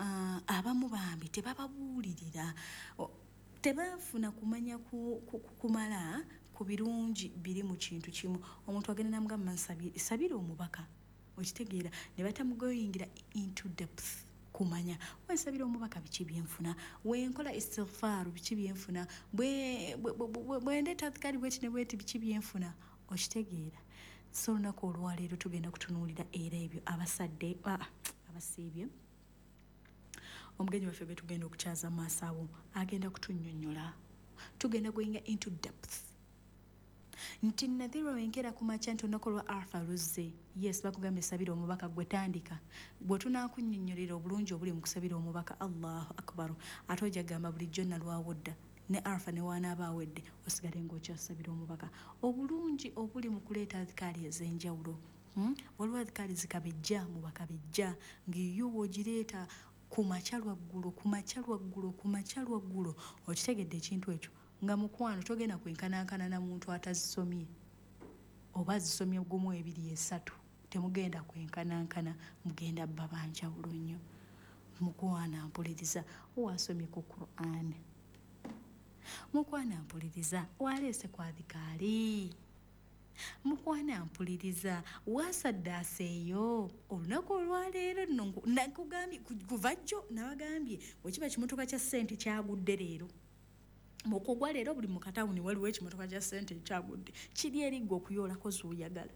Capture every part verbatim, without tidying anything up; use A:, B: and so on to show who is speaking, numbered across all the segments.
A: uh, abamu bambi tebababuulirira, tebafuna kumanya ku, ku, kumala ku birungi biri mu kintu kimu. Omuntu agenda namugamba, "Sabira omubaka," okitegeera, ne batamugoyingira into depth kumanya, wensabira omubaka biki byenfuna, wenkola istighfaaru biki byenfuna, bwendeeta adhikaari bweti ne bweti biki byenfuna, okitegeera. So olunaku olwaleero tugenda kutunuulira era ebyo abasadde ah, abasiibye. Omugenyi waffe gwe tugenda okukyaza maaso awo agenda kutunnyonnyola, tugenda goinga into depth nti nadhirwa wenkera ku makya nti olunaku lwa Arafa luzze. Yes, bakugambye sabira omubaka, gwe tandika. Bwe tunaakunnyonnyolera obulungi obuli mu kusabira omubaka, Allahu akbaru, ate ojja gamba bulijjo nalwawo dda ne Arafa ne waanaaba awedde osigale ng'okyasabira omubaka. Obulungi obuli mu kuleeta adhikaali ez'enjawulo, hmm? Waliwo adhikaali zikabejja mu bakabejja ng'eyo bw'ogireeta ku makya lwaggulo, ku makya lwaggulo, ku makya lwaggulo, okitegedde ekintu ekyo nga mukwano togenda kwenkanankana na muntu atazisomye oba azisomye gumu, ebiri, esatu, temugenda kwenkanankana, mugenda bba banjawulo nnyo. Mukwana mpuliriza, wasomye ku Quran? Mukwana mpuliriza, waleese ku adhikaali? Mukwana mpuliriza, wasaddaasa eyo olunaku olwaleero? Nno nakugambye kuva jjo, nabagambye wekiba kimotoka kya ssente kyagudde leero. Mukugwa leero buli mukatawuni waliwo ekimotoka kya ssente ekyagudde, kiri erigga okuyoolako z'oyagala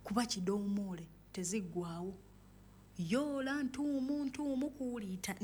A: kuba kidoomoole teziggwawo, yoola ntuumu ntuumu kuwuliita.